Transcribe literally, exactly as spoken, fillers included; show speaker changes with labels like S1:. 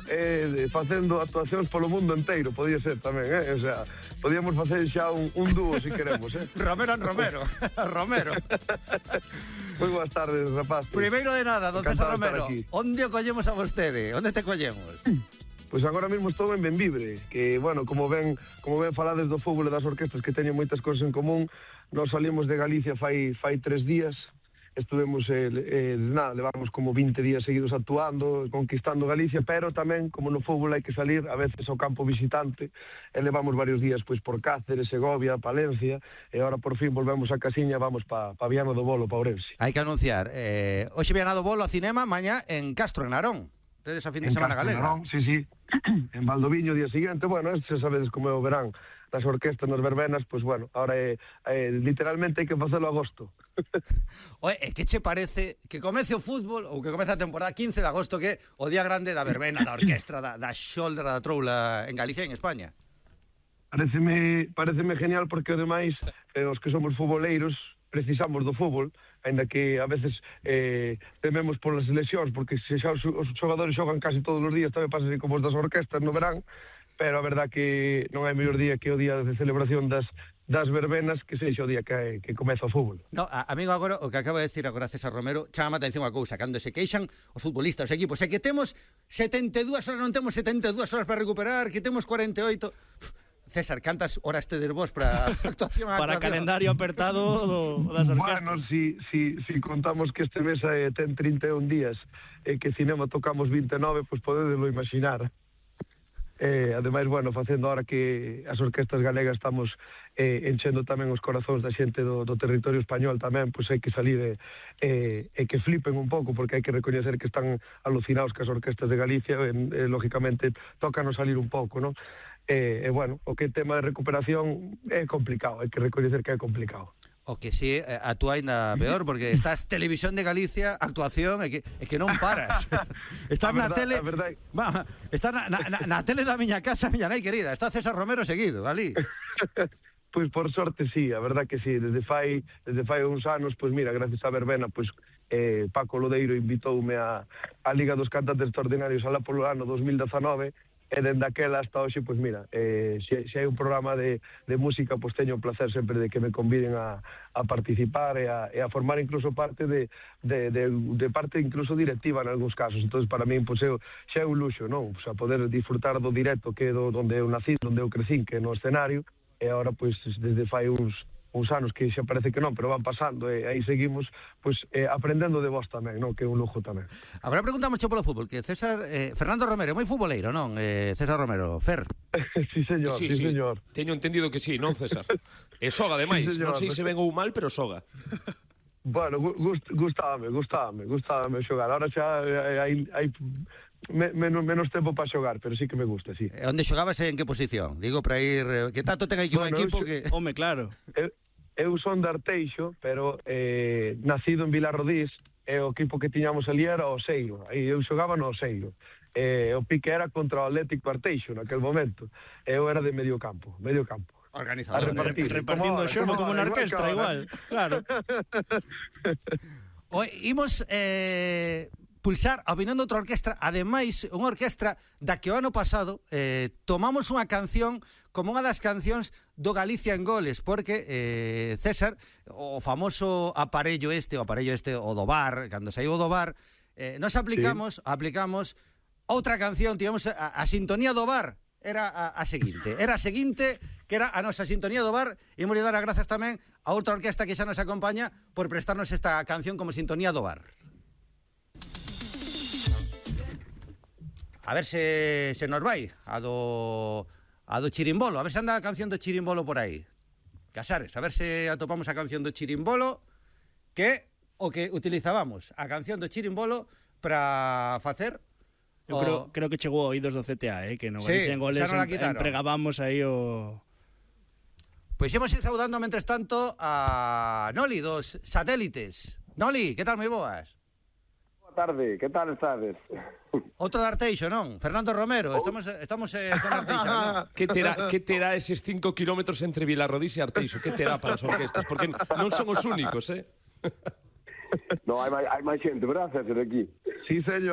S1: Vigo e facendo actuacións polo mundo enteiro, podía ser tamén, eh? O sea, podíamos facer xa un, un dúo, se queremos, eh?
S2: Romero en Romero. Romero.
S1: Moi boas tardes, rapaz.
S2: Primeiro de nada, don César Romero, onde o collemos a vostede? Onde te collemos?
S1: Pois agora mesmo estou en Benvibre, que, bueno, como ben, como ben falades do fútbol e das orquestas que teñen moitas cousas en común, nós salimos de Galicia fai, fai tres días, estuvemos, eh, eh, nada, levamos como vinte días seguidos actuando, conquistando Galicia, pero tamén, como no fútbol hai que salir, a veces ao campo visitante, e levamos varios días pois por Cáceres, Segovia, Palencia, e agora por fin volvemos a Casiña, vamos pa, pa Viana do Bolo, pa Ourense.
S2: Hai que anunciar, eh, hoxe Viana do Bolo a cinema, mañá en Castro, en Narón. Tedes a fin de
S1: en
S2: semana
S1: Castro,
S2: galega.
S1: Narón, sí, sí, en Valdoviño, día siguiente, bueno, este sabedes como é o verán, das orquestas nas verbenas, pois, bueno, ahora é, é, literalmente hai que facelo agosto.
S2: Oye, que che parece que comece o fútbol ou que comece a temporada quince de agosto, que é o día grande da verbena, da orquestra, da, da xolda, da troula en Galicia e en España?
S1: Pareceme, pareceme genial porque, ademais, eh, os que somos futboleiros precisamos do fútbol, ainda que a veces eh, tememos polas lesións, porque se xa os, os xogadores xogan casi todos os días, tamén pasa así como os das orquestas no verán, pero a verdad que non hai mellor día que o día de celebración das, das verbenas que sexa o día que, que comeza o fútbol.
S2: No, a, amigo, agora, o que acaba de decir agora César Romero, chama a atención a cousa, cando se queixan os futbolistas, os equipos, é que temos setenta e dúas horas, non temos setenta e dúas horas para recuperar, que temos cuarenta e oito... César, cantas horas tedes vos para actuación a
S3: para
S2: actuación?
S3: calendario apertado do, das orquestas?
S1: Bueno, si, si, si contamos que este mes eh, ten trinta e un días e eh, que cinema tocamos vinte e nove, pois pues podedelo imaginar. Eh, ademais, bueno, facendo ahora que as orquestas galegas estamos eh, enchendo tamén os corazóns da xente do, do territorio español tamén, pois hai que salir e eh, eh, que flipen un pouco, porque hai que recoñecer que están alucinados que as orquestas de Galicia, e, eh, lógicamente, tócanos salir un pouco, non? E, eh, bueno, o que é tema de recuperación é complicado, hai que recoñecer que é complicado.
S2: O que si, sí, actúa ainda peor, porque estás Televisión de Galicia, actuación, é que, é que non paras. Estás na tele... Va, está na, na, na tele da miña casa, miña nai querida, está César Romero seguido, ali.
S1: Pois por sorte sí, a verdad que sí, desde fai, desde fai uns anos, pois mira, gracias a verbena, pois eh, Paco Lodeiro invitoume a, a Liga dos Cantantes Extraordinarios alá polo ano dos mil dezanove, e dende aquela hasta hoxe, pois mira, eh, se, se hai un programa de, de música, pois teño o placer sempre de que me conviden a, a participar e a, e a formar incluso parte de, de, de, de parte incluso directiva en algúns casos. Entonces para mí, pois, eu, xa é un luxo, non? O sea, poder disfrutar do directo que é do, onde eu nací, onde eu crecín, que é no escenario, e agora, pois, desde fai uns uns anos que xa parece que non, pero van pasando e aí seguimos pois eh, aprendendo de vos tamén, non? Que é un lujo tamén.
S2: Agora preguntamos polo fútbol, que César eh, Fernando Romero é moi futboleiro, non? Eh, César Romero, Fer.
S1: Sí, señor, sí, sí, sí, señor.
S4: Teño entendido que sí, non, César? E soga, ademais, sí, non sei se ben ou mal, pero soga.
S1: Bueno, gust, gustábame, gustábame, gustábame xogar. Ahora xa hai, hai menos, menos tempo para xogar, pero sí que me gusta, sí.
S2: Onde xogabas en que posición? Digo, para ir... Que tanto ten aquí bueno, un equipo
S1: eu,
S2: que...
S3: Home, claro.
S1: Eu, eu son de Arteixo, pero eh, nacido en Vilarrodís, e o equipo que tiñamos ali era o Oseiro. Aí eu xogaba no Oseiro. Eh, o pique era contra o Atlético Arteixo naquel momento. Eu era de medio campo, medio campo.
S2: Organizador.
S3: Repartir, repartindo o xogo como na orquestra, igual. Claro.
S2: Oi, imos eh, pulsar a opinión de outra orquestra, ademais, unha orquestra da que o ano pasado eh, tomamos unha canción como unha das cancións do Galicia en Goles, porque eh, César, o famoso aparello este, o aparello este, o do bar, cando saiu do bar, eh, nos aplicamos, sí. aplicamos outra canción, tivemos a, a sintonía do bar, era a, a seguinte, era a seguinte, que era a nosa sintonía do bar, e imos dar as grazas tamén a outra orquesta que xa nos acompaña por prestarnos esta canción como sintonía do bar. A ver se, se nos vai a do, a do Chirimbolo, a ver se anda a canción do Chirimbolo por aí. Casares, a ver se atopamos a canción do Chirimbolo, que o que utilizábamos, a canción do Chirimbolo para facer...
S3: Eu o... creo, creo que chegou a oídos do C T A, eh, que no Galicia
S2: sí,
S3: en Goles em, empregábamos aí o...
S2: Pois imos ir saudando, mentres tanto, a Noli dos Satélites. Noli, que tal, moi boas?
S5: Tarde, que tal estades?
S2: Outro de Arteixo, non? Fernando Romero, estamos estamos en zona Arteixo, non?
S4: Que terá, que terá eses cinco kilómetros entre Vilarrodís e Arteixo? Que terá para as orquestas? Porque non son os únicos, eh?
S5: No, hai máis, hai máis xente, verdad, César, aquí?
S1: Sí, señor.